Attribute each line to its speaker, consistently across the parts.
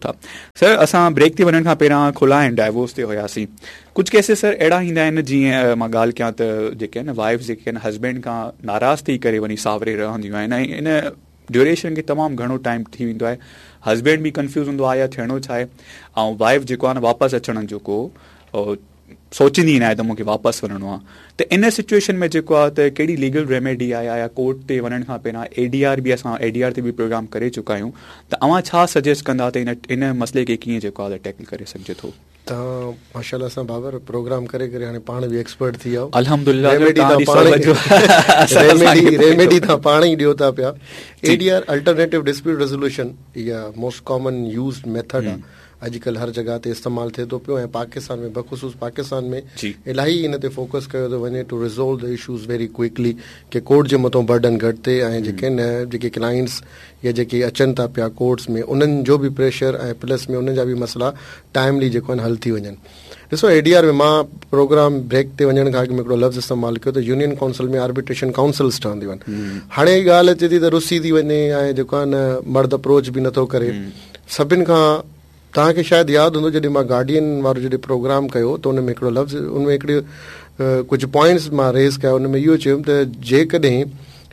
Speaker 1: ٿا. سر اسان بريڪ تي وڃڻ کان پهريان خلع ۽ ڊائيورس تي هياسين. ڪجهه ڪيسز سر اهڙا ايندا آهن جيئن مان ڳالهه ڪيان ته جيڪي آهن وائيفز جيڪي آهن هسبينڊ کان ناراض ٿي ڪري وڃي ساوري رهنديون آهن ۽ ان ڊيوريشن کي تمام گهڻو ٽائيم ٿي ويندو آهي هسبينڊ به ڪنفيوز هوندو آهي يا ٿيڻو ڇا آهي ۽ وائيف جيڪو آهي نه واپس اچڻ جو ڪو سوچيندي ئي ناهي ته مون کي واپس وڃڻو آهي ته ان سچويشن ۾ جيڪو آهي ته ڪهڙي ليگل ريميڊي آهي يا ڪورٽ تي وڃڻ کان پهريان اي ڊي آر به اسان اي ڊي آر تي به پروگرام ڪري چڪا آهيون ته اوهان ڇا سجيسٽ ڪندا ته ان ان مسئلي کي ڪيئن جيڪو آهي ٽيڪل ڪري سگهجي ٿو.
Speaker 2: توهان ماشاءالله سان بابر پروگرام ڪري ڪري هاڻي پاڻ به ايڪسپرٽ ٿي ويا آهيو.
Speaker 1: الحمدلله
Speaker 2: ريميڊي توهان پاڻ ئي ريميڊي توهان پاڻ ئي ڏيو ٿا پيا. A D R alternative dispute resolution اها موسٽ ڪامن يوزڊ ميٿڊ آهي. اڄڪلهه هر جڳهه تي استعمال ٿئي ٿو پيو ۽ پاڪستان ۾ بخصوص پاڪستان ۾ الاهي ان تي فوڪس ڪيو ٿو وڃي to resolve the issues very quickly K court جي مٿون برڊن گهٽ ٿئي ۽ جيڪي آهن جيڪي ڪلائنٽس يا جيڪي اچن ٿا پيا ڪورٽس ۾ انهن جو به پريشر ۽ پلس ۾ انهن جا به مسئلا ٽائملي جيڪو آهن حل ٿي وڃن ڏسو اي ڊي آر ۾ مان پروگرام بريڪ تي وڃڻ کان اڳ ۾ هڪڙو لفظ استعمال ڪيو ته يونين ڪائونسل ۾ آربيٽريشن ڪائونسلز ٺهنديون آهن هاڻي ڳالهه اچي ٿي ته رسي ٿي وڃي ۽ جيڪو آهي نه مرد اپروچ به نٿو ڪري سڀن کان توهان کي شايد ياد هوندو جڏهن مان گارڊين وارو جڏهن پروگرام ڪيو ته ان ۾ هڪڙو لفظ ان ۾ هڪڙي ڪجهه پوائنٽس مان ريز ڪيا ان ۾ اهو چيم ته جيڪڏهن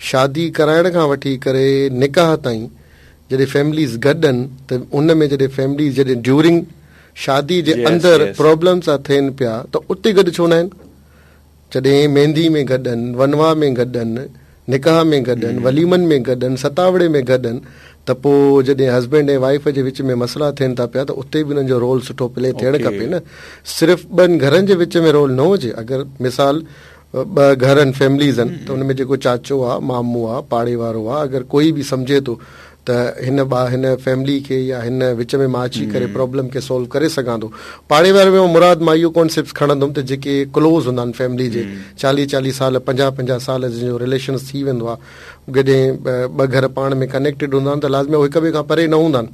Speaker 2: شادي ڪرائڻ کان وٺي ڪري نڪاح تائين جڏهن فيمليز گڏ آهن ته ان ۾ جڏهن فيمليز جڏهن ڊيورنگ شادي جي اندر پرابلمس ٿا ٿين پيا ته اتي گڏ ڇو نه آهن جڏهن ميندي ۾ گڏ آهن، ونواهه ۾ گڏ آهن، نڪاح ۾ گڏ آهن، وليمن ۾ گڏ آهن، ستاوڙي ۾ گڏ آهن ته پوء جڏهن هسبينڊ ۽ وائيف جي وچ ۾ مسئلا ٿين ٿا پيا ته اتي به انهن جو رول سٺو پلي ٿيڻ کپي نه صرف ٻن گهرن جي وچ ۾ رول نه هجي اگر مثال ٻه گهر آهن فيمليز آهن ته ان ۾ جيڪو چاچو آهي مامو آهي پاڙي وارو آهي اگر ڪوئي به سمجهي ٿو ته هن ٻا هن فيملي کي يا هن وچ ۾ مان اچي ڪري پرابلم کي سولو ڪري سگهان ٿو. پاڙي واري ۾ مراد مان اهو ڪانسيپٽ کڻندم ته جيڪي ڪلوز هوندا آهن فيملي جي چاليهه چاليهه سال پنجاهه پنجاهه سال جن جو رليشنس ٿي ويندو آهي جڏهن ٻه گهر پاڻ ۾ ڪنيڪٽيڊ هوندا آهن ته لازمي هو هڪ ٻئي کان پري نه هوندا آهن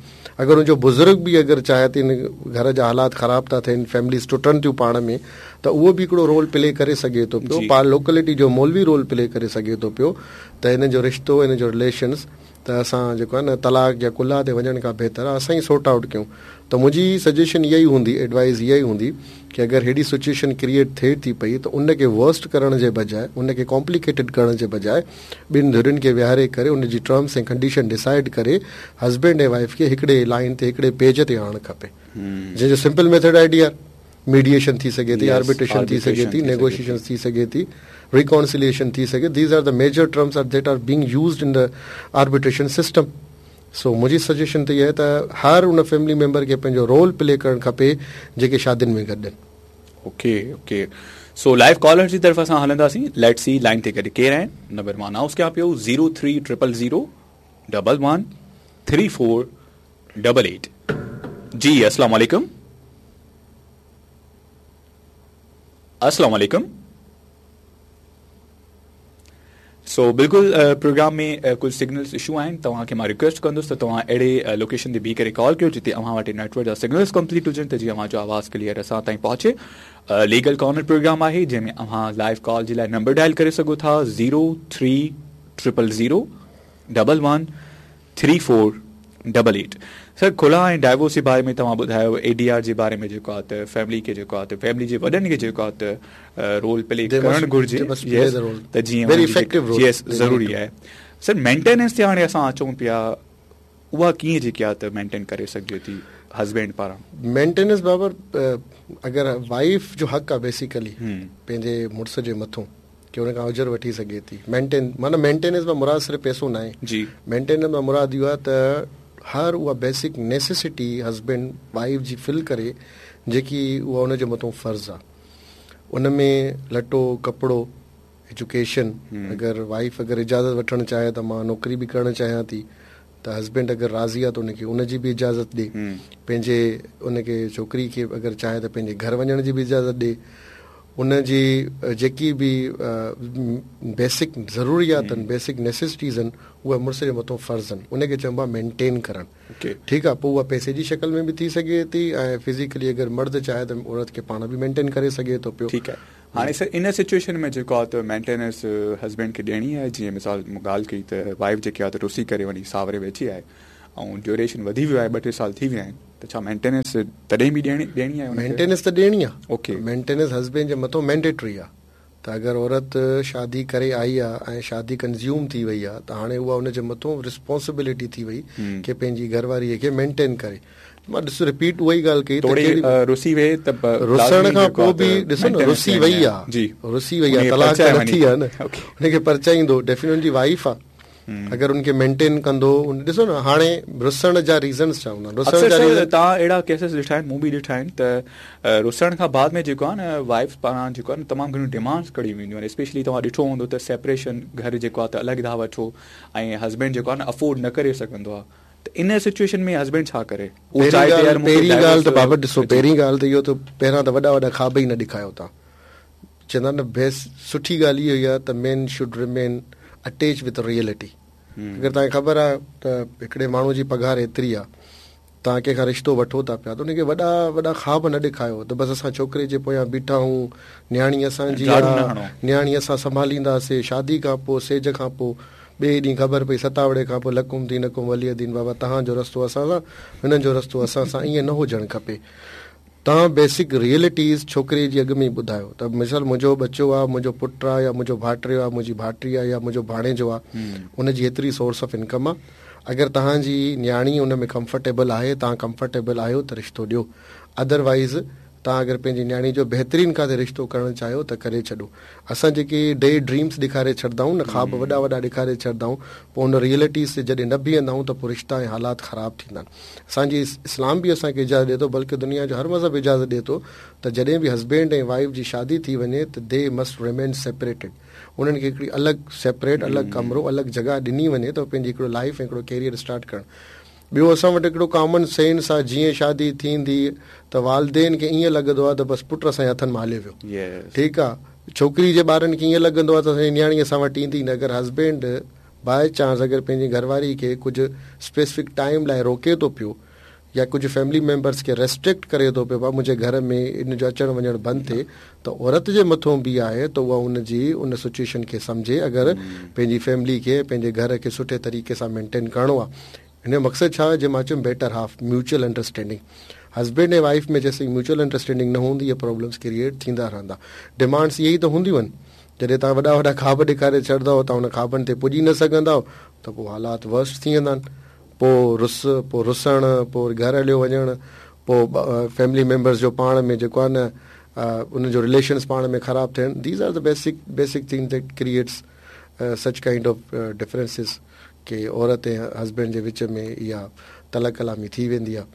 Speaker 2: اگر ان جو بزرگ به اگر چاهي ته هن گهر جا حالات خراب ٿا ٿين فيمليز ٽٽن ٿيون پاڻ ۾ ته اهو به هڪڙو رول پلي ڪري سگهي ٿو پيو پاڻ لوڪلٽي جو مولوي رول پلي ڪري سگهي ٿو پيو ته هن جو رشتو هن جو رليشنس ته اسان جيڪو آهي نه طلاق يا خلع تي وڃڻ کان بهتر آهي اسان ئي سورٽ آئوٽ ڪيون ته منهنجي سجيشن اها ئي هوندي ايڊوائز اها ئي هوندي ڪي اگر ههڙي سچويشن ڪريئيٽ ٿئي ٿي پئي ته ان کي ورسٽ ڪرڻ جي بجاء ان کي ڪامپليڪيٽيڊ ڪرڻ جي بجاء ٻن ڌرين کي ويهاري ڪري ان جي ٽرمس ۽ ڪنڊيشن ڊسائيڊ ڪري هسبينڊ ۽ وائيف کي هڪڙي لائين تي هڪڙي پيج تي آڻڻ کپي جنهن جو سمپل ميٿڊ آهي اي ڊي آر ميڊيئيشن ٿي سگهي ٿي، آربيٽريشن ٿي سگهي ٿي، نيگوشيئيشنز ٿي سگهي ٿي، ريڪانسيليئيشن ٿي سگهي these are the major terms are that are being used in the arbitration system. سو منهنجي سجيشن ته اها آهي ته هر ان فيملي ميمبر کي پنهنجو رول پلي ڪرڻ کپي جيڪي شادين ۾ گڏ آهن.
Speaker 1: Okay okay so live caller جي طرف اسان هلنداسين let's see line تي گڏ ڪير آهن نمبر مان انائونس ڪيان پيو zero three triple zero double one three four double eight جي السلام عليڪم السلام عليڪم سو بلڪل پروگرام ۾ ڪجهه سگنلز اشو آهن توهان کي مان ريڪويسٽ ڪندس ته توهان اهڙي لوڪيشن تي بيهي ڪري ڪال ڪيو جتي اوهان وٽ نيٽورڪ جا سگنلز ڪمپليٽ هجن ته جيئن اوهان جو آواز ڪليئر اسان تائين پهچي ليگل ڪارنر پروگرام آهي جنهن ۾ اوهان لائيو ڪال جي لاء نمبر ڊائل ڪري سگهو ٿا zero three triple zero double one three four double eight sir خلع ۽ divorce جي باري ۾ توهان ٻڌايو اي ڊي آر جي باري ۾ جيڪو آهي ته فيملي کي جيڪو آهي ته فيملي جي وڏن کي جيڪو آهي ته رول پلي ڪرڻ گهرجي يس ته جيئن يس ضروري آهي سر مينٽيننس تي هاڻي اسان اچون پيا اها ڪيئن جيڪي آهي ته مينٽين ڪري سگهجي ٿي هسبينڊ پاران
Speaker 2: مينٽيننس بابر اگر وائيف جو حق آهي بيسيڪلي پنهنجي مڙس جي مٿون ڪي ان کان اجر وٺي سگهي ٿي. مينٽين معنيٰ مينٽيننس مان مراد صرف پئسو ناهي.
Speaker 1: جي.
Speaker 2: مينٽيننس مان مراد اهو آهي ته هر اها بيسڪ نيسيسٽي هسبينڊ وائيف جي فل ڪري جيڪي اها ان جي مٿون فرض آهي. ان ۾ لٽو، ڪپڙو، ايجوڪيشن، اگر وائيف اگر اجازت وٺڻ چاهي ته مان نوڪري به ڪرڻ چاهيان ٿي ته هسبينڊ اگر راضي آهي ته ان کي ان جي به اجازت ڏي. پنهنجي ان کي ڇوڪري کي اگر چاهي ته پنهنجي گهر وڃڻ جي به اجازت ڏي. ان جي جيڪي به بيسڪ ضروريات آهن، بيسڪ نيسيسٽيز آهن، اهي مڙس جي مٿون فرض آهن. ان کي چئبو آهي مينٽين ڪرڻ. ٺيڪ آهي، پوء اها پئسي جي شڪل ۾ به ٿي سگهي ٿي ۽ فزيڪلي اگر مرد چاهي ته عورت کي پاڻ به مينٽين ڪري سگهي ٿو پيو.
Speaker 1: ٺيڪ آهي. هاڻي سر ان سچوئيشن ۾ جيڪو آهي ته مينٽيننس هسبينڊ کي ڏيڻي آهي جيئن مثال مون ڳالهه ڪئي ته وائيف جيڪي آهي ته رسي ڪري وڃي ساوري ويٺي آهي ۽ ڊيوريشن وڌي ويو آهي ٻه ٽي سال ٿي ويا آهن. ته ڇا مينٽيننس تڏهن به ڏيڻي ڏيڻي آهي ان کي؟
Speaker 2: مينٽيننس ته ڏيڻي آهي.
Speaker 1: اوڪي.
Speaker 2: مينٽيننس هسبينڊ جي مٿو مينڊيٽري آهي ته اگر عورت شادي ڪري آئي آهي ۽ شادي ڪنزيوم ٿي وئي آهي ته هاڻي اها ان جي مٿو رسپانسبلٽي ٿي وئي ڪي پنهنجي گهر واريء کي مينٽين ڪري. مان ڏس رپيٽ اها ئي ڳالهه ڪئي ته
Speaker 1: توڙي
Speaker 2: ڪهڙي
Speaker 1: رسي وئي ته به
Speaker 2: رسڻ
Speaker 1: لازمي
Speaker 2: کان
Speaker 1: جيڪو
Speaker 2: پوء
Speaker 1: آهي
Speaker 2: به
Speaker 1: ته
Speaker 2: ڏسو نه
Speaker 1: مينٽيننس
Speaker 2: رسي
Speaker 1: ڏيڻي
Speaker 2: وئي
Speaker 1: آهي.
Speaker 2: آهي
Speaker 1: جي
Speaker 2: رسي وئي
Speaker 1: ان
Speaker 2: آهي
Speaker 1: کي
Speaker 2: طلاق ته
Speaker 1: پرچائي
Speaker 2: نه
Speaker 1: وڃي
Speaker 2: ٿي آهي نه
Speaker 1: اوڪي.
Speaker 2: ان کي پرچائيندو ڊيفينٽلي ان جي وائيف آهي. اگر ان کي مينٽين ڪندو ڏسو نه هاڻي رسڻ جا ريزنس ڇا هوندا آهن رسڻ
Speaker 1: اڪثر
Speaker 2: جا
Speaker 1: سر
Speaker 2: ريزن
Speaker 1: توهان اهڙا ڪيسز ڏٺا آهن مون به ڏٺا آهن ته رسڻ کان بعد ۾ جيڪو آهي نه وائيف پاران جيڪو آهي نه تمام گهڻيون ڊيمانڊس ڪيون وينديون آهن اسپيشلي توهان ڏٺو هوندو ته سيپريشن گهر جيڪو آهي ته الڳ ٿا وٺو ۽ هسبينڊ جيڪو آهي نه افورڊ نه ڪري سگهندو آهي ته ان سچويشن ۾ هسبينڊ ڇا ڪري اهو
Speaker 2: پهرين
Speaker 1: چاهي ته
Speaker 2: ڳالهه
Speaker 1: يار مون کي
Speaker 2: پهرين ڳالهه
Speaker 1: ڊائيورس
Speaker 2: ته بابا ڏسو
Speaker 1: جي
Speaker 2: پهرين ڳالهه ته اهو ته پهريان ته وڏا وڏا خواب ئي نه ڏيکايو توهان چوندا آهن نه بيسٽ سٺي ڳالهه اها ئي آهي ته مين should remain attach with reality اگر توهان کي خبر آهي ته هڪڙي ماڻهو جي پگهار ايتري آهي توهان ڪنهن کان رشتو وٺو ٿا پيا ته ان کي وڏا وڏا خواب نه ڏيکايو ته بس اسان ڇوڪري جي پويان بيٺا آهيون نياڻي اسان جي
Speaker 1: ڊاڙون نه
Speaker 2: آهي
Speaker 1: هڻو.
Speaker 2: نياڻي اسان سنڀالينداسي شادي کان پوء سيج کان پوء ٻئي ڏينهن خبر پئي ستاوڙي کان پوء لڪم دينڪم ولي دين بابا توهان جو رستو اسان سان هنن جو رستو اسان سان ائين نه هجڻ کپي توهان بيسڪ ريئلٽيز ڇوڪري جي اڳ ۾ ئي ٻڌايو ته مثال منهنجو ٻچو آ، منهنجو پٽ آ يا منهنجو ڀائٽيو آ، منهنجي ڀائٽي آ يا منهنجو ڀاڻيجو آ ان جي ايتري سورس آف انڪم آ اگر توهان جي نياڻي ان ۾ ڪمفرٽيبل آهي توهان ڪمفرٽيبل آهيو ته رشتو ڏيو ادروائيز توهان اگر پنهنجي نياڻي جو بهترين ڪاٿي رشتو ڪرڻ چاهيو ته ڪري ڇڏو اسان جيڪي ڊي ڊريمز ڏيکاري ڇڏندا آهيون نه خواب وڏا وڏا ڏيکاري ڇڏندا آهيون پوء ان ريئلٽيز تي جڏهن نه بيهندا آهيون ته پوء رشتا ۽ حالات خراب ٿيندا آهن اسان جي اسلام به اسان کي اجازت ڏي ٿو بلڪه دنيا جو هر مذهب اجازت ڏي ٿو ته جڏهن به هسبينڊ ۽ وائيف جي شادي ٿي وڃي ته the must remain separated انهن کي هڪڙي الڳ سيپريٽ الڳ ڪمرو الڳ جڳهه ڏني وڃي ته پنهنجي هڪڙو لائيف ۽ هڪڙو ڪيريئر اسٽارٽ ڪرڻ ٻيو اسان وٽ هڪڙو ڪامن سينس آ جيئن شادي ٿيندي ته والدين کي ائين لڳندو آ ته بس پٽ اسان جي هٿن مان هليو ويو ٺيڪ آ ڇوڪري جي ٻارن کي ائين لڳندو آ ته اسان جي نياڻي اسان وٽ ايندي نه اگر هسبينڊ باء چانس اگر پنهنجي گهر واري کي ڪجهه اسپيسفڪ ٽائيم لاء روڪي ٿو پيو يا ڪجهه فيملي ميمبرس کي ريسٽرڪٽ ڪري ٿو پيو ڀا منهنجي گهر ۾ ان جو اچڻ وڃڻ بند ٿئي ته عورت جي مٿون به آهي ته اها ان جي ان سچويشن کي سمجهي اگر پنهنجي فيملي کي پنهنجي گهر کي سٺي طريقي سان مينٽين ڪرڻو آهي هن جو مقصد ڇا آهي جي مان چيم better half mutual understanding husband ۽ wife ۾ جيسين ميوچل انڊرسٽينڊنگ نه هوندي اهي پرابلمس ڪريئيٽ ٿيندا رهندا ڊمانڊس اهي ئي ته هونديون آهن جڏهن توهان وڏا وڏا خواب ڏيکاري ڇڏندؤ توهان ان خوابن تي پڄي نه سگهندؤ ته پوء حالات ورسٽ ٿي ويندا آهن پوء رس پوء رسڻ پوء وري گهر هليو وڃڻ پوء فيملي ميمبرس جو پاڻ ۾ جيڪو آهي نه انهن جو رليشنس پاڻ ۾ خراب ٿيڻ these are the basic basic thing that creates such kind of differences ڪي عورت ۽ هسبينڊ جي وچ ۾ اها تلخ ڪلامي ٿي ويندي آهي.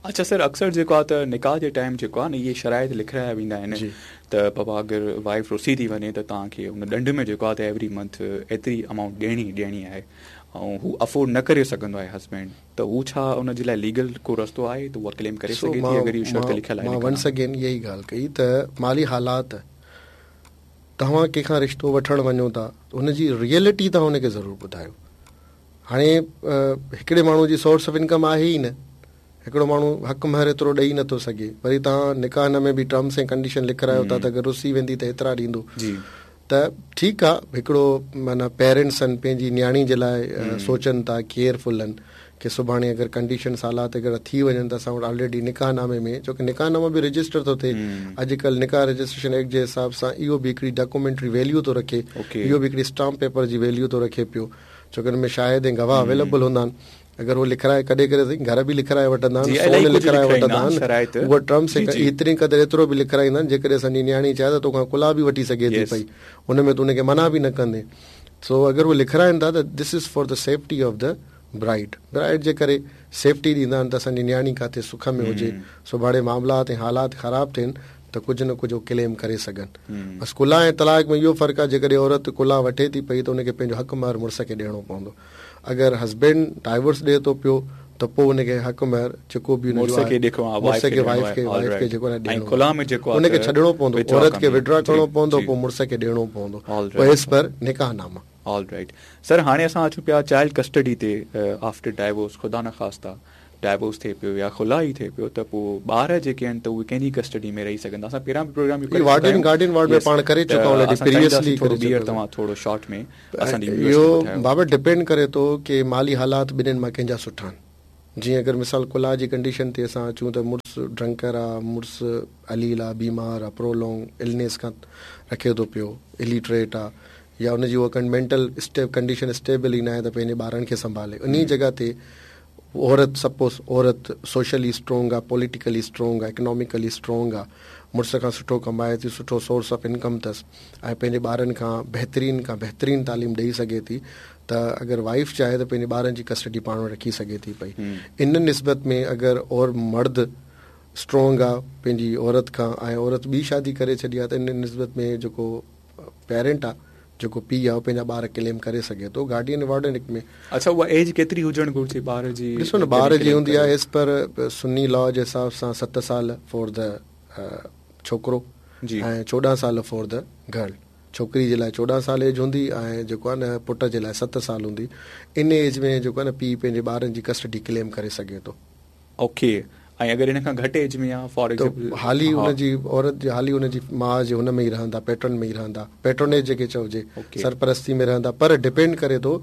Speaker 1: اڇا سر اڪثر جيڪو آهي ته نڪاح جي ٽائيم جيڪو آهي نه اهي شرائط لکرايا ويندا آهن ته بابا اگر وائيف رسي ٿي وڃي ته توهان کي ان ڏنڊ ۾ جيڪو آهي ته ايوري منٿ ايتري امائونٽ ڏيڻي ئي ڏيڻي آهي ۽ هو افورڊ نه ڪري سگهندو آهي هسبينڊ ته هو ڇا ان جي لاء ليگل ڪو رستو آهي ته اها ڪليم ڪري
Speaker 2: سو
Speaker 1: سگهي ٿي
Speaker 2: مان
Speaker 1: اگر اهو شرط لکيل آهي
Speaker 2: مان
Speaker 1: نڪاح
Speaker 2: ونس
Speaker 1: نامي
Speaker 2: اگين اها ئي ڳالهه ڪئي ته مالي حالات توهان ڪنهن کان رشتو وٺڻ وڃو ٿا ته ان جي ريئلٽي توهان ان کي ضرور ٻڌايو هاڻي هڪڙي ماڻهو جي سورس آف انڪم آهي ئي نه هڪڙو ماڻهو حق مهر ايترو ڏئي نٿو سگهي وري توهان نڪاح نامي ۾ به ٽرمس ۽ ڪنڊيشن لکرايو ٿا ته اگر رسي ويندي ته ايترا ڏيندو
Speaker 1: جي
Speaker 2: ته ٺيڪ آ هڪڙو معنيٰ پيرنٽس آهن پنهنجي نياڻي جي لاء سوچن ٿا ڪيئرفل آهن ڪي سڀاڻي اگر ڪنڊيشنس حالات اگر ٿي وڃن ته اسان وٽ آلريڊي نڪاح نامي ۾ ڇو ڪي نڪاح نامو به رجسٽر ٿو ٿئي اڄڪلهه نڪاح رجسٽريشن ايڪٽ جي حساب سان اهو به هڪڙي ڊاڪومينٽري ويليو ٿو رکي اهو به هڪڙي اسٽامپ پيپر جي ويليو ٿو رکي پيو ڇو ڪي ان ۾ شاهد ۽ گواهه اويليبل هوندا آهن اگر هو لکرائي ڪڏهن ڪڏهن سائين گهر به لکرائي وٺندا آهن سون لکرائي وٺندا آهن اهو ٽرمس ايتري قدر ايترو به لکرائيندا آهن جيڪڏهن اسان جي نياڻي چاهي ته توکان ڪلاه به وٺي سگهي ٿي پئي ان ۾ تون ان کي منع به نه ڪندين سو اگر هو لکرائن ٿا ته this is for the safety of the bride bride جي ڪري سيفٽي ڏيندا آهن ته اسان جي نياڻي ڪاٿي سک ۾ هجي سڀاڻي معاملات ۽ حالات خراب ٿين ته ڪجهه نه ڪجهه هو ڪليم ڪري سگهن بس خلع ۽ طلاق ۾ اهو فرق آهي جيڪڏهن عورت خلع وٺي ٿي پئي ته ان کي پنهنجو حق مهر مڙس کي ڏيڻو پوندو اگر هسبينڊ ڊائيورس ڏئي ٿو پيو ته پوء ان کي حق مهر جيڪو به ان جو
Speaker 1: آهي
Speaker 2: مڙس کي وائيف کي وائيف کي جيڪو آهي ڏيڻو آهي ان کي ڇڏڻو پوندو عورت کي وڊرا ڪرڻو پوندو پوء مڙس کي ڏيڻو پوندو پوء ايز پر نڪاح ناما.
Speaker 1: آل رائيٽ سر هاڻي اسان اچون پيا چائلڊ ڪسٽڊي تي آفٽر ڊائيورس خدا نخواسته ڊائيورس ٿئي پيو يا خلع ئي ٿئي پيو ته پوء ٻار جيڪي آهن ته اهي ڪنهن جي ڪسٽڊي ۾ رهي سگهندا اسان پهريان به پروگرام
Speaker 2: اهو ڪري چڪا آهيون گارڊين وارڊ ۾ پاڻ ڪري چڪا آهيون آلريڊي پريويسلي
Speaker 1: ٿورو ٻيهر توهان ٿورو شارٽ ۾ اسان جي
Speaker 2: ويورز کي ٻڌايو. اهو بابا ڊپينڊ ڪري ٿو ڪي مالي حالات ٻنهين مان ڪنهن جا سٺا آهن. جيئن اگر مثال خلع جي ڪنڊيشن تي اسان اچون ته مڙس ڊرنڪر آ، مڙس عليل آ، بيمار آ، پرولونگ النيس کان رکي ٿو پيو، اليٽريٽ آ يا ان جي اها مينٽل ڪنڊيشن اسٽيبل ئي ناهي ته پنهنجي ٻارن کي سنڀالي. انهي جڳهه تي عورت سپوز عورت سوشلي اسٽرونگ آ، پوليٽيڪلي اسٽرونگ آ، اڪناميڪلي اسٽرونگ آ، مڙس کان سٺو ڪمائي ٿي، سٺو سورس آف انڪم اٿس ۽ پنهنجي ٻارن کان بهترين کان بهترين تعليم ڏئي سگهي ٿي ته اگر وائيف چاهي ته پنهنجي ٻارن جي ڪسٽڊي پاڻ وٽ رکي سگهي ٿي پئي. ان نسبت ۾ اگر اور مرد اسٽرونگ آ پنهنجي عورت کان ۽ عورت ٻي شادي ڪري ڇڏي آ ته ان نسبت ۾ جيڪو پيرنٽ آ جيڪو پيء آ اهو پنهنجا ٻار ڪليم ڪري سگهي ٿو گارڊين وارڊن هڪ ۾.
Speaker 1: اڇا اها ايج ڪيتري هجڻ گهرجي ٻار جي
Speaker 2: ڏسو نه ٻار جي هوندي آ ايز پر سني لا جي حساب سان ست سال فار the ڇوڪرو ۽ 14 سال فار the girl ڇوڪري جي لاء 14 سال ايج هوندي ۽ جيڪو آ نه پٽ جي لاء ست سال هوندي ان ايج ۾ جيڪو آ نه پيء پنهنجي ٻارن جي ڪسٽڊي ڪليم ڪري سگهي ٿو.
Speaker 1: اوڪي ۽ اگر ان کان گهٽ ايج ۾ آ فار
Speaker 2: ايگزامپل ته حالي ان جي عورت جي حالي ان جي ماء جي هن ۾ ئي رهندا پيٽرن ۾ ئي رهندا پيٽرونيج جيڪي چئجي سرپرستي ۾ رهندا پر ڊپينڊ ڪري ٿو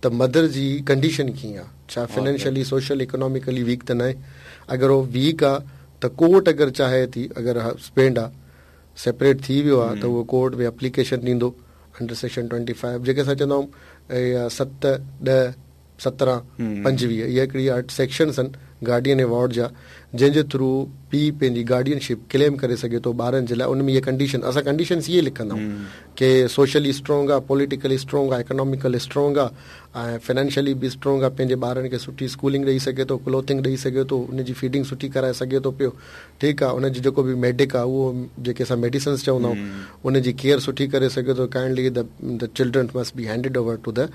Speaker 2: ته مدر جي ڪنڊيشن ڪيئن آ ڇا فنانشلي سوشل اڪناميڪلي ويڪ ته ناهي اگر هو ويڪ آ ته ڪورٽ اگر چاهي ٿي اگر هسبينڊ آ سيپريٽ ٿي ويو آ ته اهو ڪورٽ ۾ اپليڪيشن ڏيندو انڊر سيڪشن 25 جيڪي اسان چوندا آهيون 7 10 17، 25 اهي هڪڙي سيڪشنس آهن گارڊين ۽ وارڊ جا جنهن جي ٿرو پيء پنهنجي گارڊين شپ ڪليم ڪري سگهي ٿو ٻارن جي لاء ان ۾ اهي ڪنڊيشن اسان ڪنڊيشنس اهي لکندا آهيون ڪي سوشلي اسٽرانگ آهي پوليٽيڪلي اسٽرانگ آهي اڪناميڪل اسٽرانگ آهي ۽ فنانشلي به اسٽرانگ آهي پنهنجي ٻارن کي سٺي اسڪولنگ ڏئي سگهي ٿو ڪلوٿنگ ڏئي سگهي ٿو ان جي فيڊنگ سٺي ڪرائي سگهي ٿو پيو ٺيڪ آهي ان جو جيڪو به ميڊڪ آهي اهو جيڪي اسان ميڊيسنس چوندا آهيون ان جي ڪيئر سٺي ڪري سگهي ٿو kindly the children must be handed over to the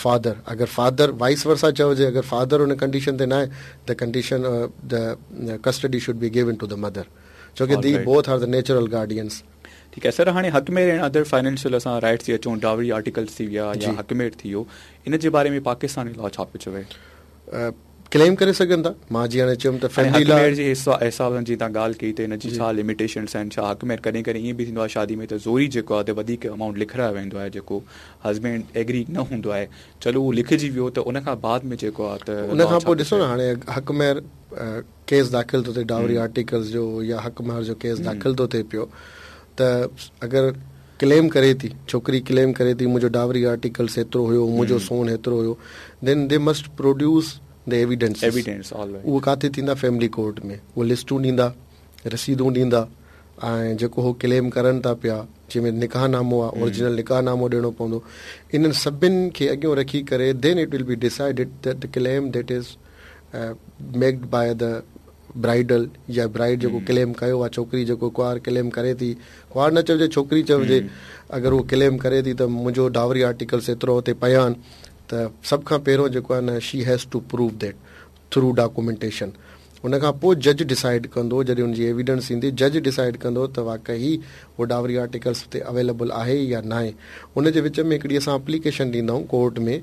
Speaker 2: father اگر فادر وائس ورسا چئجي اگر فادر ان ڪنڊيشن تي ناهي the condition the custody should be given to the mother ڇو ڪي the both are the natural guardians.
Speaker 1: ٺيڪ آهي سر هاڻي حق مهر ۽ ادر فائنينشل اسان رائٽس تي اچون ڊاوري آرٽيڪلس ٿي ويا يا حق مهر ٿي ويو ان جي باري ۾ پاڪستاني لا ڇا پيو چوي؟
Speaker 2: ڪليم ڪري سگهن ٿا مان جيئن هاڻي چيم ته
Speaker 1: فيملي لا حق مهر جي حساب سان جيئن توهان ڳالهه ڪئي ته ان جي ڇا لميٽيشنس آهن ڇا حق مهر ڪڏهن ڪڏهن ائين به ٿيندو آهي شادي ۾ ته زوري جيڪو آهي ته وڌيڪ امائونٽ لکرايو ويندو آهي جيڪو هسبينڊ ايگري نه هوندو آهي چلو اهو لکجي ويو ته ان کان بعد ۾ جيڪو آهي ته
Speaker 2: ان کان پوء ڏسو نه هاڻي حق مهر ڪيس داخل ٿو ٿئي ڊاوري آرٽيڪلز جو يا حق مهر جو ڪيس داخل ٿو ٿئي پيو ته اگر ڪليم ڪري ٿي ڇوڪري ڪليم ڪري ٿي منهنجو ڊاوري آرٽيڪلس هيترو هيو منهنجو سون هيترو هيو then the must produce the evidence
Speaker 1: evidence
Speaker 2: all right اهو ڪاٿي ٿيندا فيملي ڪورٽ ۾ اهي لسٽون ڏيندا رسيدون ڏيندا ۽ جيڪو هو ڪليم ڪرن ٿا پيا جنهن ۾ نڪاح نامو آهي اورجنل نڪاح نامو ڏيڻو پوندو انهن سڀن کي اڳيون رکي ڪري then it will be decided that the claim that is made by the bridal يا برائيڊ جيڪو ڪليم ڪيو آهي ڇوڪري جيڪو ڪنوار ڪليم ڪري ٿي ڪنوار نه چئجي ڇوڪري چئجي اگر هو ڪليم ڪري ٿي ته منهنجو ڊاوري آرٽيڪلس ايترو هتي پيا آهن ته سڀ کان پهريون جيڪو آهي نه she has to prove that through documentation ان کان پوء جج ڊسائيڊ ڪندو جڏهن ان جي ايويڊنس ايندي جج ڊسائيڊ ڪندو ته واقعي هو ڊاوري آرٽيڪلس هتي اويليبل آهي يا ناهي ان جي وچ ۾ هڪڙي اسان اپليڪيشن ڏيندا آهيون ڪورٽ ۾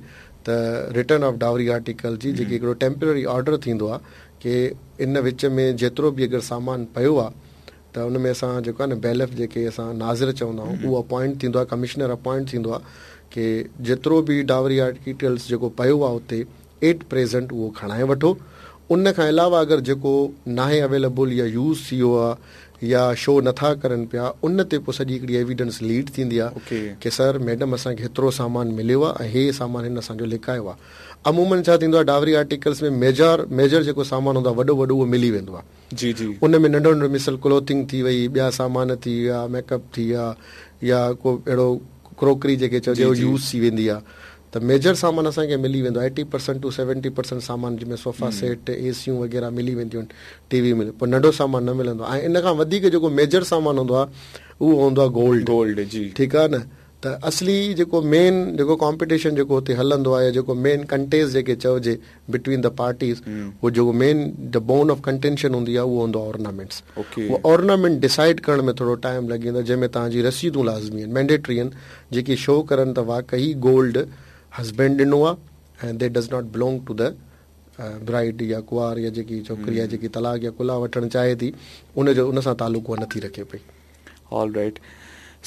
Speaker 2: ته رٽن آف ڊاوري آرٽيڪل جي جيڪي هڪڙو ٽيمپرري آرڊر ٿيندو آهي ڪي ان وچ ۾ جيترو به اگر سامان پيو آ ته ان ۾ اسان جيڪو آ نه بيلف جيڪي اسان ناظر چوندا آهيون اهو اپوائنٽ ٿيندو آ ڪمشنر اپوائنٽ ٿيندو آ ڪي جيترو به ڊاوري آرٽيڪلس جيڪو پيو آ اتي ايٽ پريزنٽ اهو کڻائي وٺو ان کان علاوه اگر جيڪو ناهي اويليبل يا يوز ٿي ويو آ يا شو نٿا ڪرن پيا ان تي پوء سڄي هڪڙي ايويڊنس ليڊ ٿيندي آ ڪي سر ميڊم اسان کي هيترو سامان مليو آ ۽ هي سامان هن اسان جو لڪايو آ عمومن ڇا ٿيندو آهي ڊاوري آرٽيڪلس ۾ ميجر ميجر جيڪو سامان هوندو آهي وڏو وڏو اهو ملي ويندو آهي
Speaker 1: جي جي
Speaker 2: ان ۾ ننڍو ننڍو مثال ڪلوٿنگ ٿي وئي ٻيا سامان ٿي ويا ميڪ اپ ٿي ويا يا ڪو اهڙو ڪروڪري جيڪي چئجي اهو يوز ٿي ويندي آهي ته ميجر سامان اسان کي ملي ويندو آهي 80% ٽو 70% سامان جنهن ۾ صوفا سيٽ اي سيون وغيره ملي وينديون آهن ٽي وي ملي پر ننڍو سامان نه ملندو آهي ۽ ان کان وڌيڪ جيڪو ميجر سامان هوندو آهي اهو هوندو آهي گولڊ
Speaker 1: گولڊ جي
Speaker 2: ٺيڪ آهي نه ته اصلي جيڪو مين جيڪو ڪامپيٽيشن جيڪو اتي هلندو آهي يا جيڪو مين ڪنٽيسٽ جيڪي چئجي بٽوين the parties هو جيڪو مين the bone of contention هوندي آهي اهو هوندو آهي اورنامينٽس اهو اورنامينٽ ڊسائيڊ ڪرڻ ۾ ٿورو ٽائيم لڳي ويندو آهي جنهن ۾ توهان جي رسيدون لازمي آهن مينڊيٽري آهن جيڪي شو ڪرن ته واقعي گولڊ هسبينڊ ڏنو آهي ۽ that does not belong to the bride يا ڪنوار يا جيڪي ڇوڪري آهي جيڪي طلاق يا خلع وٺڻ چاهي ٿي ان جو ان سان تعلق اها نٿي رکي پئي.
Speaker 1: All right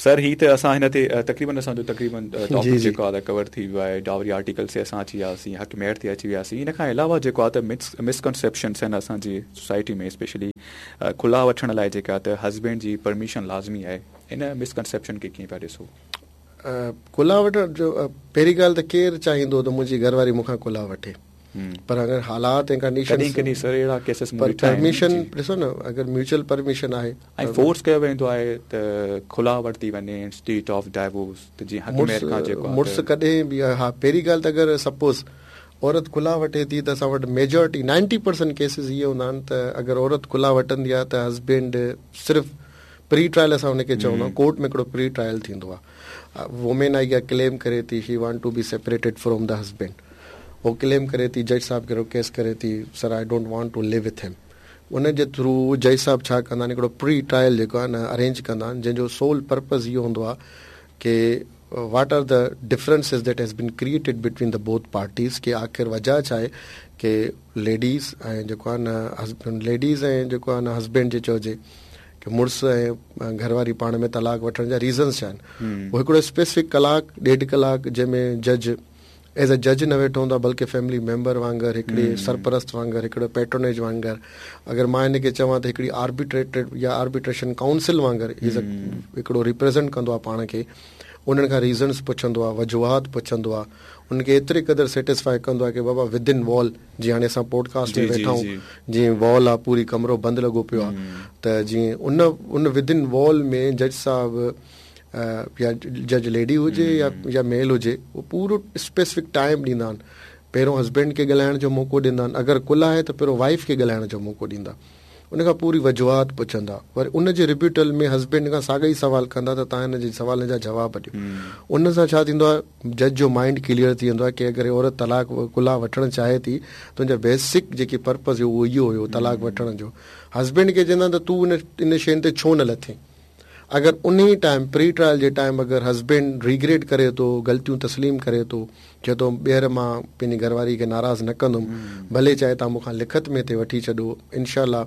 Speaker 1: سر هي ته اسان هن تي تقريبن اسان جو تقريبن ٽاپڪ جيڪو آهي ڪور ٿي ويو آهي ڊاوري آرٽيڪلس تي اسان اچي وياسين حق مهر تي اچي وياسين ان کان علاوه جيڪو آهي ته مسڪنسيپشنس آهن اسان جي سوسائٽي ۾ اسپيشلي خلع وٺڻ لاء جيڪا ته هسبينڊ جي پرميشن لازمي آهي ان مسڪنسيپشن کي ڪيئن پيا ڏسو؟
Speaker 2: خلع وٺڻ جو پهرين ڳالهه ته ڪير چاهيندو ته منهنجي گهر واري مون کان خلع وٺي پر اگر حالات ۽ ڪنڊيشنز
Speaker 1: ڪڏهن ڪڏهن سر اهڙا ڪيسز مون
Speaker 2: ڏٺا آهن پرميشن ڏسو نه اگر ميوچل پرميشن آهي
Speaker 1: ۽ فورس ڪيو ويندو آهي ته خلع ورتي وڃي انسٽيڊ آف ڊائيورس ته جيئن حق مهر کان جيڪو
Speaker 2: آهي مڙس ڪڏهن به ها پهرين ڳالهه ته اگر سپوز عورت خلع وٺي ٿي ته اسان وٽ ميجارٽي 90% ڪيسز اهي هوندا آهن ته اگر عورت خلع وٺندي آهي ته هسبينڊ صرف پري ٽرائل اسان ان کي چوندا آهيون ڪورٽ ۾ هڪڙو پري ٽرائل ٿيندو آهي وومين آئي اها ڪليم ڪري ٿي she want to be separated from the husband هو ڪليم ڪري ٿي جج صاحب کي رڪويسٽ ڪري ٿي sir I don't want to live with him ان جي ٿرو جج صاحب ڇا ڪندا آهن هڪڙو پري ٽرائل جيڪو آهي نه ارينج ڪندا آهن جنهن جو سول پرپز اهو هوندو آهي ڪي what are the differences that has been created between the both parties ڪي آخر وجه ڇا آهي ڪي ليڊيز ۽ جيڪو آهي نه هسبينڊ ليڊيز ۽ جيڪو آهي نه هسبينڊ جي چئجي ڪي مڙس ۽ گهر واري پاڻ ۾ طلاق وٺڻ جا ريزنس ڇا آهن هو هڪڙو اسپيسفڪ ڪلاڪ ڏيڍ ڪلاڪ جنهن ۾ جج ايز اي جج نه ويٺو هوندو آهي بلڪه فيملي ميمبر وانگر هڪڙي سرپرست وانگر هڪڙو پيٽرونيج وانگر اگر مان هن کي چوان ته هڪڙي آربيٽريٽيڊ يا آربيٽريشن ڪائونسل وانگر ايز اي هڪڙو ريپريزنٽ ڪندو آهي پاڻ کي انهن کان ريزنس پڇندو آهي وجوهات پڇندو آهي انهن کي ايتري قدر سيٽسفائي ڪندو آهي ڪي بابا ود ان وال جيئن هاڻي اسان پوڊڪاسٽ ۾ ويٺا آهيون جيئن وال آهي پوري ڪمرو بند لڳو پيو آهي ته جيئن ان ان ود ان وال ۾ جج صاحب يا جج ليڊي هجي يا يا ميل هجي اهو پورو اسپيسفڪ ٽائيم ڏيندا آهن پهريون هسبينڊ کي ڳالهائڻ جو موقعو ڏيندا آهن اگر خلع آهي ته پهريون وائيف کي ڳالهائڻ جو موقعو ڏيندا ان کان پوري وجوهات پڇندا وري ان جي ريبيوٽل ۾ هسبينڊ کان ساڳا ئي سوال ڪندا ته توهان هن جي سوالن جا جواب ڏيو ان سان ڇا ٿيندو آهي جج جو مائنڊ ڪليئر ٿي ويندو آهي ڪي اگر عورت طلاق خلع وٺڻ چاهي ٿي ته ان جا بيسڪ جيڪي پرپز هيو اهو اهو هيو طلاق وٺڻ جو هسبينڊ کي چوندا آهن ته تون ان ان شين تي ڇو نه لٿين اگر انهي ٽائيم پري ٽرائل جي ٽائيم اگر هسبينڊ ريگريٽ ڪري ٿو غلطيون تسليم ڪري ٿو چئي ٿو ٻيهر مان پنهنجي گهر واري کي ناراض نه ڪندم ڀلي چاهي توهان مون کان لکت ۾ هتي وٺي ڇڏو انشاء الله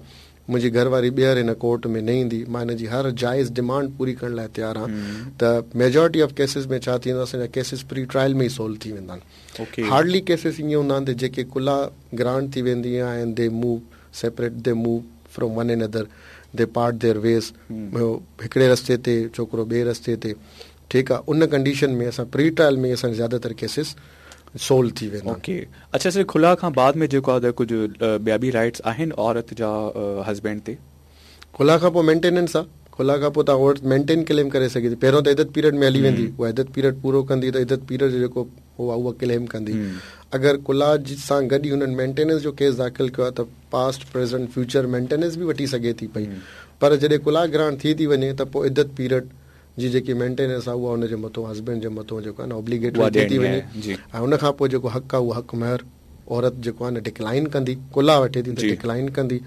Speaker 2: منهنجي گهر واري ٻيهر هن ڪورٽ ۾ نه ايندي مان هن جي هر جائز ڊمانڊ پوري ڪرڻ لاء تيار آهيان ته ميجارٽي آف ڪيسز ۾ ڇا ٿيندو اسان جا ڪيسز پري ٽرائل ۾ ئي سولو ٿي ويندا آهن هارڊلي ڪيسز ائين هوندا آهن ته جيڪي خلع گرانٽ ٿي ويندي آهي ۽ the move separate the move from one another the part their ways هڪڙي رستي تي ڇوڪرو ٻئي رستي تي ٺيڪ آ ان ڪنڊيشن ۾ اسان پري ٽرائل ۾ اسان زياده تر ڪيسز سولو ٿي ويندا آهن.
Speaker 1: اوڪي اڇا سر خلع کان بعد ۾ جيڪو آ ته ڪجهه ٻيا به رائٽس آهن عورت جا هسبينڊ تي؟
Speaker 2: خلع کان پوء مينٽيننس آ خلع کان پوء ته عورت مينٽين ڪليم ڪري سگهي ٿي پهريون ته عدت پيريڊ ۾ هلي ويندي اها عدت پيريڊ پورو ڪندي ته عدت پيريڊ جو جيڪو هو اها ڪليم ڪندي اگر خلع سان گڏ ئي هنن مينٽيننس جو ڪيس داخل ڪيو آ ته پاسٽ پريزنٽ فيوچر مينٽيننس به وٺي سگهي ٿي پئي پر جڏهن خلع گرانٽ ٿي ٿي وڃي ته پوء عدت پيريڊ جي جيڪي مينٽيننس آهي اها ان جي مٿو هسبينڊ جي مٿو جيڪو آهي نه اوبليگيٽري ٿي ٿي وڃي ۽ ان کان پوء جيڪو حق آهي اهو حق مهر عورت جيڪو آهي نه ڊڪلائن ڪندي خلع وٺي ٿي ته ڊڪلائن ڪندي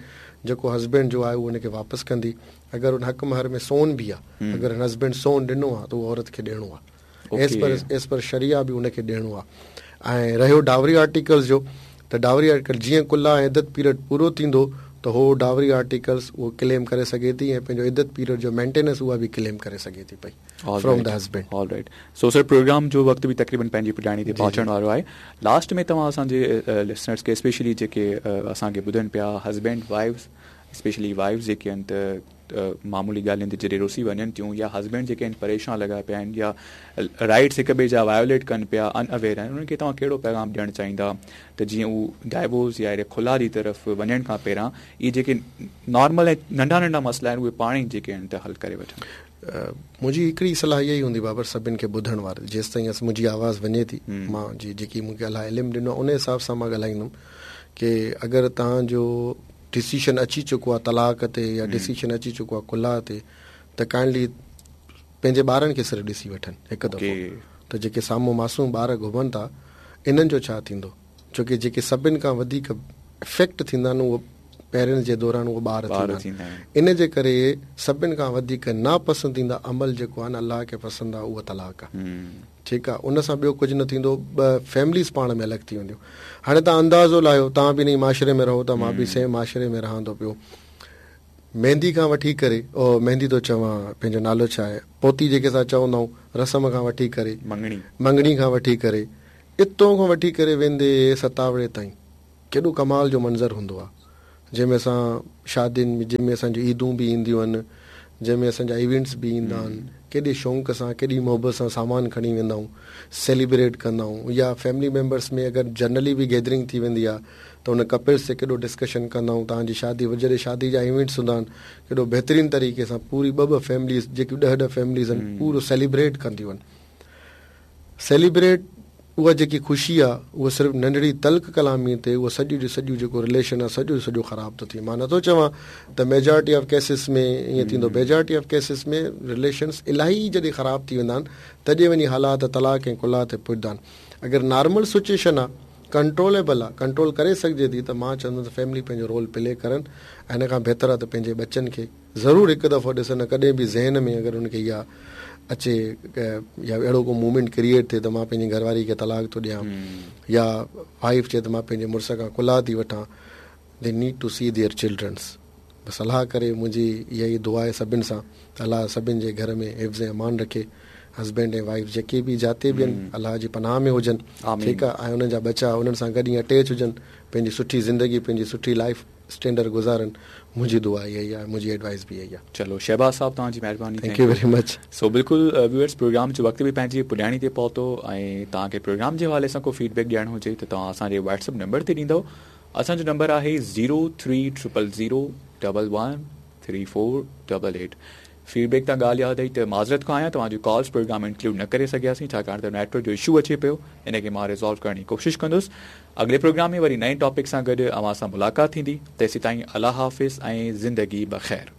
Speaker 2: جيڪو هسبينڊ جو آهي اهو ان کي واپس ڪندي اگر ان حق مهر ۾ سون به آهي اگر هن هسبينڊ سون ڏنو آهي ته اهو عورت کي ڏيڻو آهي ايز پر ايز پر شريعه به ان کي ڏيڻو آهي ۽ رهيو ڊاوري آرٽيڪلز جو ته ڊاوري آرٽيڪل جيئن خلع ۽ عدت پيريڊ پورو ٿيندو ته هو ڊاوري آرٽيڪلز اهو ڪليم ڪري سگهي ٿي ۽ پنهنجو عدت پيريڊ جو مينٽيننس اها به ڪليم ڪري سگهي ٿي پئي from the husband.
Speaker 1: All right so sir programme جو وقت به تقريبن پنهنجي پڄاڻي تي پهچڻ وارو آهي لاسٽ ۾ توهان اسان جي لسنرز کي اسپيشلي جيڪي اسان کي ٻڌن پيا هسبينڊ وائيفز اسپيشلي وائيفز جيڪي آهن ته معمولي ڳالهين تي جڏهن رسي وڃن ٿيون يا هسبينڊ جيڪي آهن پريشان لڳا پيا آهن يا رائٽس هڪ ٻئي جا وايوليٽ ڪن پيا ان اويئر آهن انهن کي توهان ڪهڙو پيغام ڏيڻ چاهيندا ته جيئن هو ڊائيورس يا اهڙي خلع جي طرف وڃڻ کان پهريان اهي جيڪي نارمل ۽ ننڍا ننڍا مسئلا آهن اهي پاڻ ئي جيڪي آهن ته حل ڪري وٺن.
Speaker 2: منهنجي هڪڙي صلاح اها ئي هوندي بابر سڀن کي ٻڌڻ وارن جيستائين منهنجي آواز وڃي ٿي مان جي جيڪي مون کي الله علم ڏنو آهي ان حساب سان مان ڳالهائيندم ڪي اگر توهان جو ڊسيشن اچي چڪو آهي طلاق تي يا ڊسيشن اچي چڪو آهي خلع تي ته ڪائنڊلي پنهنجي ٻارن کي صرف ڏسي وٺن هڪ دفعو ته جيڪي سامهون معصوم ٻار گهمن ٿا انهن جو ڇا ٿيندو ڇو ڪي جيڪي سڀن کان وڌيڪ افيڪٽ ٿيندا آهن اهو پيرنٽس جي دوران اهو ٻار ٿيندا آهن ان جي ڪري سڀن کان وڌيڪ ناپسنديده عمل جيڪو آهي نه الله کي پسند آهي اهو طلاق آهي ٺيڪ آ ان سان ٻيو ڪجهه نه ٿيندو ٻه فيمليز پاڻ ۾ الڳ ٿي وينديون هاڻي توهان اندازو لاهيو توهان به انهي معاشري ۾ رهو ٿا مان به سيم معاشري ۾ رهان ٿو پيو ميندي کان وٺي ڪري او ميندي ٿو چوان پنهنجو نالو ڇا آهي پوتي جيڪي اسان چوندا آهيون رسم کان وٺي ڪري
Speaker 1: مڱڻي
Speaker 2: مڱڻي کان وٺي ڪري اتون کان وٺي ڪري ويندي ستاوڙي تائين ڪيڏو ڪمال جو منظر هوندو آهي جنهن ۾ اسان شادين ۾ جنهن ۾ اسان جون عيدون به اينديون آهن جنهن ۾ اسان جا ايونٽس به ايندا آهن ڪيڏي شوق سان ڪيڏي محبت سان سامان کڻي ويندا آهيون سيليبريٽ ڪندا آهيون يا فيملي ميمبرس ۾ اگر جنرلي به گيدرنگ ٿي ويندي آهي ته ان ڪپلس تي ڪيڏو ڊسڪشن ڪندا آهيون توهان جي شادي جڏهن شادي جا ايونٽس هوندا آهن ڪيڏو بهترين طريقي سان پوري ٻه ٻه فيمليز جيڪيون ڏهه ڏهه فيمليز آهن پورو سيليبريٽ ڪنديون آهن سيليبريٽ اها جيڪي خوشي آ اها صرف ننڍڙي تلخ ڪلامي تي اهو سڄو جو سڄو جيڪو رليشن آ سڄو جو سڄو خراب ٿو ٿئي مان نٿو چوان ته ميجارٽي آف ڪيسز ۾ ائين ٿيندو ميجارٽي آف ڪيسز ۾ رليشنس الاهي جڏهن خراب ٿي ويندا آهن تڏهن وڃي حالات طلاق ۽ خلع تي پڄندا آهن اگر نارمل سچويشن آ ڪنٽروليبل آ ڪنٽرول ڪري سگهجي ٿي ته مان چوندس ته فيملي پنهنجو رول پلي ڪرن ۽ ان کان بهتر آ ته پنهنجي ٻچن کي ضرور هڪ دفعو ڏسن ڪڏهن به ذهن ۾ اگر ان کي اها اچي يا اهڙو ڪو موومينٽ ڪريئيٽ ٿئي ته مان پنهنجي گهر واري کي طلاق ٿو ڏيان يا وائيف چئي ته مان پنهنجي مڙس کان خلع ٿي وٺان they need to see their childrens بس الله ڪري منهنجي اها ئي دعا آهي سڀن سان ته الله سڀن جي گهر ۾ حفظ ۽ امان رکي هسبينڊ ۽ وائيف جيڪي به جاتي به آهن الله جي پناهه ۾ هجن ٺيڪ آهي ۽ انهن جا ٻچا انهن سان گڏ ائين اٽيچ هجن پنهنجي سٺي زندگي پنهنجي سٺي لائيف اسٽينڊر گذارن منهنجي دعا اها ئي آهي منهنجي ايڊوائس به اها ئي آهي.
Speaker 1: چلو شهباز صاحب توهان جي مهرباني
Speaker 2: thank you very much.
Speaker 1: سو بلڪل ويورس پروگرام جو وقت به پنهنجي پڄاڻي تي پهتو ۽ توهان کي پروگرام جي حوالي سان ڪو فيڊ بيڪ ڏيڻو هجي ته توهان اسان جي واٽس اپ نمبر تي ڏيندؤ اسان جو نمبر آهي zero three triple zero double one three four double eight feed back تان ڳالهه ياد آئي ته معذرت خواهه آهيان توهان جون ڪالز پروگرام ۾ انڪلوڊ نه ڪري سگهياسين ڇاڪاڻ ته نيٽ ورڪ جو اشو اچي پيو ان کي مان ريزالو ڪرڻ جي ڪوشش ڪندس اڳلي پروگرام ۾ وري نئين ٽاپڪ سان گڏ اوهان سان ملاقات ٿيندي تيسيتائين الله حافظ ۽ زندگي بخير.